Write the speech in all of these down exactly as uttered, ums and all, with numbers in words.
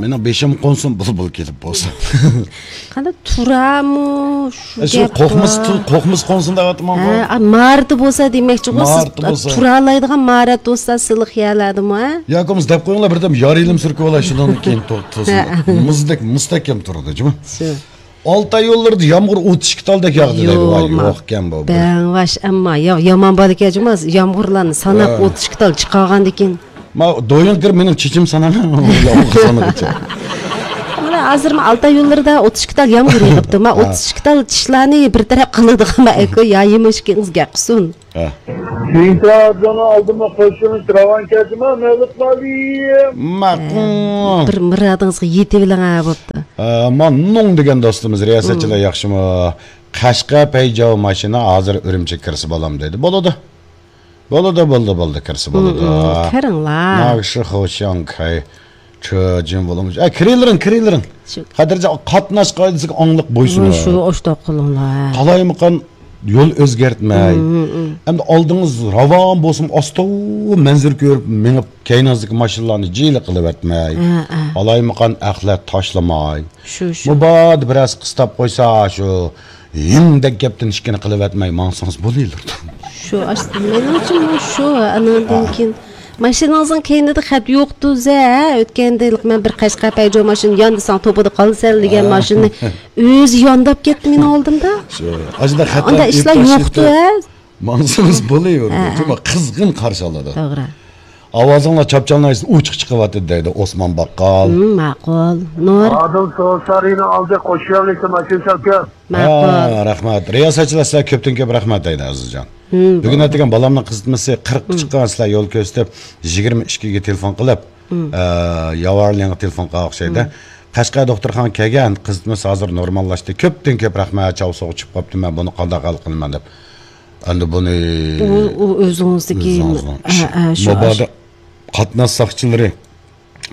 مېنىڭ بېشىم قونسۇن بۇلبۇل كېلىپ بولسا. قانداق تۇرامۇ؟ شۇ ئە، شۇ گەپ قوقمىسا بار. تۇ-، قوقمىسا قونسۇن دەۋاتىمەنغۇ. ھە، ئا، مارتا بولسا دېمەكچىغۇ، سىز مارتا بولسا. تۇرالايدىغان مارتا بولسا سىلىق يەرلەردىمۇ، ھە؟ ياكى بولمىسا دەپ قويۇڭلار، بىردەم يار يېلىم سۈركۈۋالاي، شۇنىڭدىن كېيىن تو-، توسۇن. ھە. مۇزدەك مۇستەھكەم تۇرىدۇ، جۇمۇ. شۇ. ئالتاي يوللىرىدا يامغۇر ئوتتۇز ئىككى تالدەك ياغدى دەيدۇ. ۋاي، يوق، يوقكەن بۇ. بەڭۋاش، ئەمما يا-، يامان بالىكەن جۇمۇ، يامغۇرلارنى ساناپ ھە. ئوتتۇز ئىككى تال چىقارغاندىن كېيىن. ما دويۇن كىر، مېنىڭ چېچىم ساناما، يامغۇر سانىغىچە. مانا ھازىر ما ئالتاي يوللىرىدا ئوتتۇز ئىككى تال يامغۇر يېغىپتۇ. ما ھە. ئوتتۇز ئىككى تال چىشلارنى بىر تەرەپ قىلىدىغان ما ئەكو يا يېمىشكىڭىز گەپ قىلسۇن. ھە. سېيىت راجاننىڭ ئالدىما قوشۇلۇش راۋان كەتىما مەلۇت مالىيىم. ماقۇل. بىر مۇرادىڭىزغا يېتىۋېلىڭ ھە بوپتۇ. ئە، ماننۇڭ دېگەن دوستىمىز، رىياسەتچىلەر ياخشىمۇ؟ قەشقەر پەيجاۋ ماشىنا ھازىر ئۈرۈمچىگە كىرسە بالام دەيدۇ. بولىدۇ. بولىدۇ، بولىدۇ، بولىدۇ، كىرسە بولىدۇ. كىرىڭلار. ناخشى خوشياڭ كاي. چۆجۈن بولۇمىش. ئە، كىرىلىرىڭ، كىرىلىرىڭ. شۇ. خاتىرجەم قاتناش قائىدىسىگە ئاڭلىق بويسۇنۇڭ. شۇ، ئوشتاق قىلىڭلار. قالايمىقان يول ئۆزگەرتمەي. ئەمدى ئالدىڭىز راۋان بولسۇن، ئاستا مەنزىرە كۆرۈپ مېڭىپ، كەينىڭىزدىكى ماشىنىلارنى جىلە قىلىۋەتمەي. ھە، ھە. قالايمىقان ئەخلەت تاشلىماي. شۇ، شۇ. مۇبادا بىرەرسى قىستاپ قويسا، شۇ ھىمدەك گەپتىن ئىككىنى قىلىۋەتمەي ماڭسىڭىز بولۇۋېرىدۇ. شۇ، ئاشۇ، مېنىڭ ئۈچۈن شۇ، ئانىڭدىن ھە. كېيىن ماشىنىڭىزنىڭ كەينىدە خەت يوقتۇ زە، ئۆتكەندە مەن بىر قەشقەر پەيجو ماشىنا ياندىساڭ توپىدا قالىسەن دېگەن ھە. ماشىنا ئۆزى يانداپ كەتتى مېنىڭ ئالدىمدا. شۇ، ئاشۇنداق ئاندا خەتلەر ئىشلار ئېلىپ يوقتۇ تاشلىتىپ ھە. ماڭسىڭىز بولۇۋېرىدۇ. ھە، ھە. شۇڭا قىزغىن قارشى ئالىدۇ. توغرا. ئاۋازىڭلار چاپچالنايسىز، ئوچۇق چىقىۋاتىدۇ دەيدۇ ئوسمان باققال. ھىم، ماقۇل. نۇر. ئادىل سوسارىنىڭ ئالدى قوشۇلىشى ماشىنا سەپكە. ماقۇل. ھە، رەھمەت. رىياسەتچىلەر سىلەرگە كۆپتىن كۆپ رەھمەت دەيدۇ ئەزىزجان. ھىم، بۈگۈن بولدى. ئەتىگەن بالامنىڭ قىزىتمىسى قىرىققا ھىم. چىققان، سىلەر يول كۆرسىتىپ، يىگىرمە ئىككىگە تېلېفون قىلىپ، ھىم. ئە، ياۋارلىڭغا تېلېفون قىلغان ئوخشايدۇ. ھىم. قەشقەر دوختۇرخانىغا كەلگەن، قىزىتمىسى ھازىر نورماللاشتى. كۆپتىن كۆپ رەھمەت، چاۋ سوغۇق چۈشۈپ قاپتۇ، مەن بۇنى قانداق ھەل قىلىمەن دەپ. ئەمدى بۇنى ئۇ، ئۇ ئۆزىڭىزدىكى، ئۆزىڭىزنىڭ ئە، ئە، شۇ، مۇبادا قاتناش ساقچىلىرى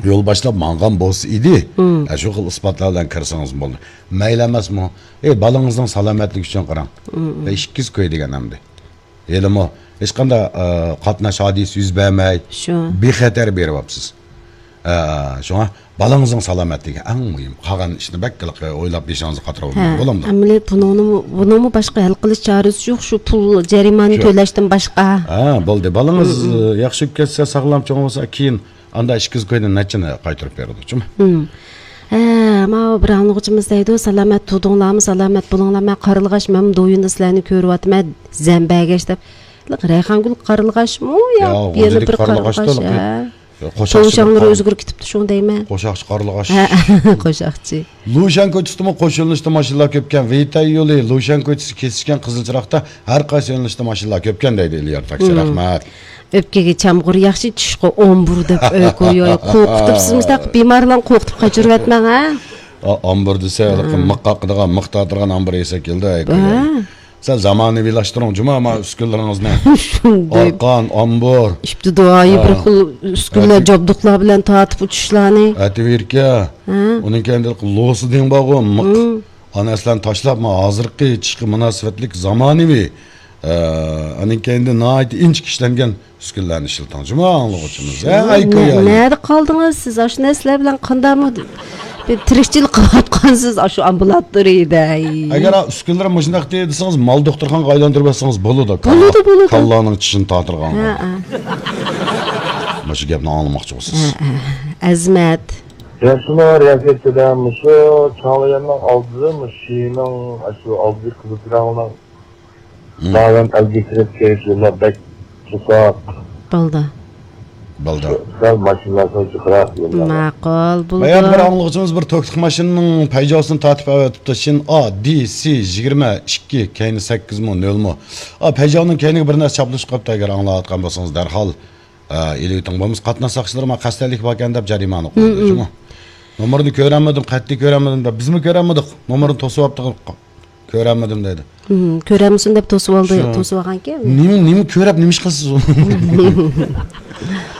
يول باشلاپ ماڭغان بولسا ئىدى، مم. ئە، شۇ خىل ئىسپاتلار بىلەن كىرسىڭىزمۇ بولدى. مەيلى ئەمەسمۇ؟ ئەي، بالىڭىزنىڭ سالامەتلىكى ئۈچۈن قاراڭ. مم. ۋە ئىككىز كوي دېگەن ئەمدى. ھېلىمۇ ھېچقانداق، ئە، قاتناش ھادىسە يۈز بەرمەي، شۇ. بىخەتەر بېرىۋاپسىز. ئە، شۇڭا بالىڭىزنىڭ سالامەتلىكى ئەڭ مۇھىم. قالغان ئىشنى بەك ئويلاپ بېشىڭىزغا قاتۇرۇۋالماڭ، ھە، بولامدۇ؟ ئەمەلىيەت بۇنىڭنىمۇ، بۇنىڭمۇ باشقا ھەل قىلىش چارىسى يوق، شۇ پۇل جەرىمانە شۇ. تۆلەشتىن باشقا. ھە، بولدى. بالىڭىز، مم. ئە، ياخشى ئۆتۈپ كەتسە، ساغلام چوڭ بولسا، كېيىن ئاندا ئىككىز كويدىن نەچچىنى قايتۇرۇپ بېرىدۇ، جۇمۇ؟ مم. ھە، ماۋۇ بىر ئاڭلىغۇچىمىز دەيدۇ، سالامەت تۇردۇڭلارمۇ، سالامەت بولۇڭلار، مەن قارلىغاچ، مەن دويۇندا سىلەرنى كۆرۈۋاتىمەن، زەمبەگەش دەپ. رەيھانگۈل قارلىغاچمۇ يا يا، يەنە غۇلجىدىكى بىر قارلىغاچ قارلىغاچتۇ. ھە. قوشاقچى توۋشاڭلىرى قار-، ئۆزگىرىپ كېتىپتۇ، شۇڭا دەيمەن. قوشاقچى قارلىغاچ. ھە، قوشاقچى. لۇشيەن كوچىسىدىمۇ قوش يۆنىلىشتە ماشىنىلار كۆپكەن. ۋېيتەي يولى، لۇشيەن كوچىسى كېسىشكەن قىزىل چىراغدا ھەر قايسى يۆنىلىشتە ماشىنىلار كۆپكەن دەيدۇ ئېلىيار تاكسى. مم. رەھمەت. ئۆپكىگە چامغۇر ياخشى، چۈشقا ئومبۇر دەپ ئۆي قويۇۋېلىپ قورقۇتۇپ، سىز مۇشۇنداق بىمارلارنى قورقۇتۇپ قاچۇرۇۋەتمەڭ ھە. ئا-، ئامبۇر دېسە، ھېلىقى مىق قاقىدىغان، مىق تارتىدىغان ئامبۇر يېسەك كېلىدۇ، ھەي، ھە. سەل زامانىۋىلاشتۇرۇڭ، جۇما، ما ئۈسكۈنىلىرىڭىزنى. شۇنداق. ئارقان، ئامبۇر. ئىپتىدائىي بىر ھە. خىل ئۈسكۈنىلەر، ھە. جابدۇقلار بىلەن تارتىپ ئۇچۇشلارنى. ئەتىۋىركە. ھە. ئۇنىڭ كەينىدە لوسىدىن بارغۇ، مىق. مم. ئانا ئەسلەرنى تاشلاپ، ما ھازىرقى چىشقا مۇناسىۋەتلىك زامانىۋى، ئە، ئۇنىڭ كەينىدە ناھايىتى ئىنچىكە ئىشلەنگەن ئۈسكۈنىلەرنى ئىشلىتىڭ. جۇما ئاڭلىغۇچىمىز. ھە، ئايكو يا. نەدە قالدىڭىز سىز؟ ئاشۇ نەرسىلەر بىلەن قانداقمۇ بىر تىرىكچىلىك قىلىۋاتقانسىز ئاشۇ ئامبۇلاتورىيىدە؟ ئەگەر ئۈسكۈنىلەر مۇشۇنداق دېسىڭىز، مال دوختۇرخانىغا ئايلاندۇرۇپ بەرسىڭىز بولىدۇ. بولىدۇ، بولىدۇ. كاللانىڭ چىشىنى تارتىدىغان. ھە، ھە. مۇشۇ گەپنى ئاڭلىماقچى بولسىز. ھە، ھە. ئەزمەت. ياخشىمۇ رىياسەتچىلەر، مۇشۇ چاڭلىيەننىڭ ئالدىدا، مۇشۇ شىنىڭ، ئاشۇ ئالدىدىكى قىزىل چىراغنىڭ مم. داۋان ئەلگە كىرىپ كېلىش يوللار بەك توساق. بولدى. بولدى. سەل ماشىنىلار سەل جىقراق يوللار. ماقۇل، بولىدۇ. بايام بىر ئاڭلىغۇچىمىز بىر توكلۇق ماشىنىنىڭ پەيجاۋسىنى تارتىپ ئەۋەتىپتۇ. شىن ئا دى سى يىگىرمە ئىككى، كەينى سەككىزمۇ، نۆلمۇ؟ ئا، پەيجاۋنىڭ كەينىگە بىر نەرسە چاپلىشىپ قاپتۇ، ئەگەر ئاڭلاۋاتقان بولسىڭىز دەرھال، ئا، ئېلىۋېتىڭ. بولمىسا قاتناش ساقچىلىرى ما قەستەنلىك باركەن دەپ جەرىمانە قويىدۇ، مم، جۇمۇ. نومۇرنى كۆرەلمىدىم، قەتئىي كۆرەلمىدىم دەپ، بىزمۇ كۆرەلمىدۇق. نومۇرنى توسۇۋاپتۇق. كۆرەلمىدىم دەيدۇ. مم، كۆرەلمىسۇن دەپ توسۇۋالدى، شۇ. توسۇۋالغانكەن. نېمە، نېمە كۆرەپ نېمە ئىش قىلىسىز ئۇنى؟